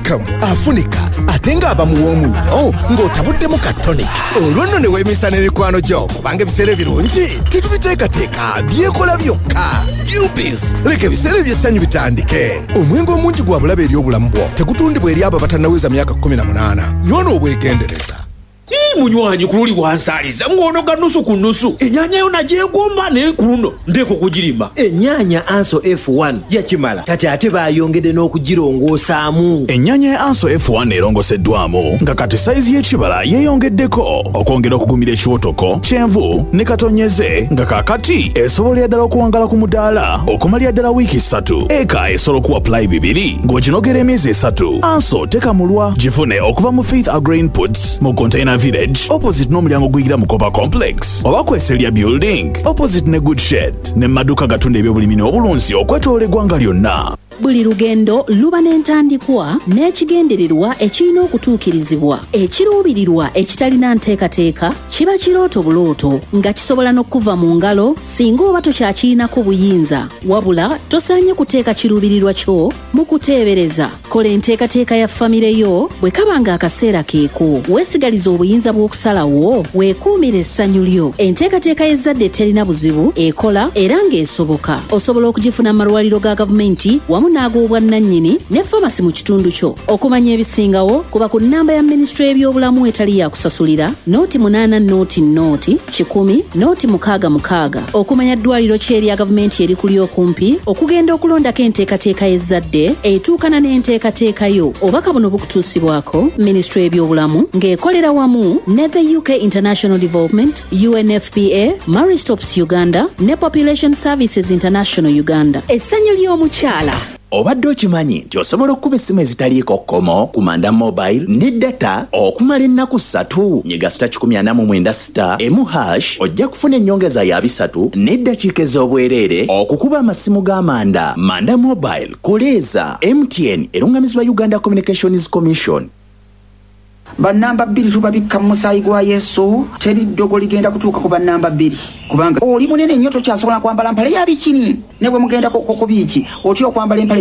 Mukkakkamu, afunika ate ng'aba muwoomu nnyo ng'otabuddemu ka tonic. Olwo nno ne weemisa n'emikwano gyo, kubanga ebiseera ebirungi tetubiteekateeka, byekola byokka. Ubis, leka ebiseera eby'essanyu bitandike. Omwenge omungi gwa bulabe eri obulamu bwo. Tegutundibwa eri abo abatannaweza myaka 18. Nywa n'obwegendereza. Ii munywanyi, ku luli wansaaliza ng'onoga nusu ku nusu. Enyaanya yo nagyegomba, naye ku luno ndeeka okugirima. Ennyaanya Anso F1 yakimala, kati ate baayongedde n'okugirongoosaamu. Ennyaanya ya Anso F1 erongoseddwamu nga kati sayizi y'ekibala yeeyongeddeko okwongera okugumira ekiwotoko, kyenvu ne katonyeze, nga kaakati esobolera ddala okuwangala ku mudaala okumalira ddala wiiki 3. Eka esobola okuwa pulayi 2 ng'oginogera emyezi 3. Anso tekamulwa. Gifune okuva mu Faith Agro Inputs mu Container Village opposite n'omulyango guyingira mu Copper Complex, oba ku Eselia Building opposite ne Good Shed, ne mu maduuka gatunda ebyobulimi n'obulunzi okwetoloola eggwanga lyonna. Buli lugendo luba n'entandikwa n'ekigendererwa ekirina okutuukirizibwa. Ekiruubirirwa ekitalina nteekateeka kiba kirooto bulooto, nga kisobola n'okuva mu ngalo singa oba tokyakirinako buyinza. Wabula tosaanye kuteeka kiruubirirwa kyo mu kuteebereza. Kola enteekateeka ya famire yo bwe kaba nga akaseera keeko. Weesigalize obuyinza bw'okusalawo, weekuumire essanyu lyo. Enteekateeka y'ezzadde terina buzibu, ekola era ng'esoboka. Osobola okugifuna mu malwaliro ga gavumenti wamu n'ag'obwannannyini ne famasi mu kitundu kyo. Okumanya ebisingawo, kuba ku nnamba ya minisitule y'ebyobulamu etali ya kusasulira, 08 00 100 066, okumanya ddwaliro ki erya gavumenti erikuli okumpi okugenda okulondako enteekateeka y'ezzadde etuukana n'enteekateeka yo. Obubaka buno bukutuusibwako minisitule y'ebyobulamu ng'ekolera wamu ne the UK International Development, UNFPA, Marie Stopes Uganda ne Population Services International Uganda. Essanyu ly'omukyala. Obadde okimanyi nti osobola okukuba essimu ezitaliiko kkomo ku Manda Mobile ne data okumala ennaku 3? Nyiga *149 *1# ojja kufuna ennyongeza ya 30 n'eddakiika ez'obwereere okukuba amasimu ga Manda. Manda Mobile, koleeza. MTN erungamizibwa Uganda Communications Commission. Bannamba 2 tubabikka mu musaayi gwa Yesu. Teri ddogo ligenda kutuuka ku bannamba 2, kubanga oli munene nnyo, tokyasobola kwambala mpale ya bikini. Ne bwe mugenda ku biiki, otya okwambala empale.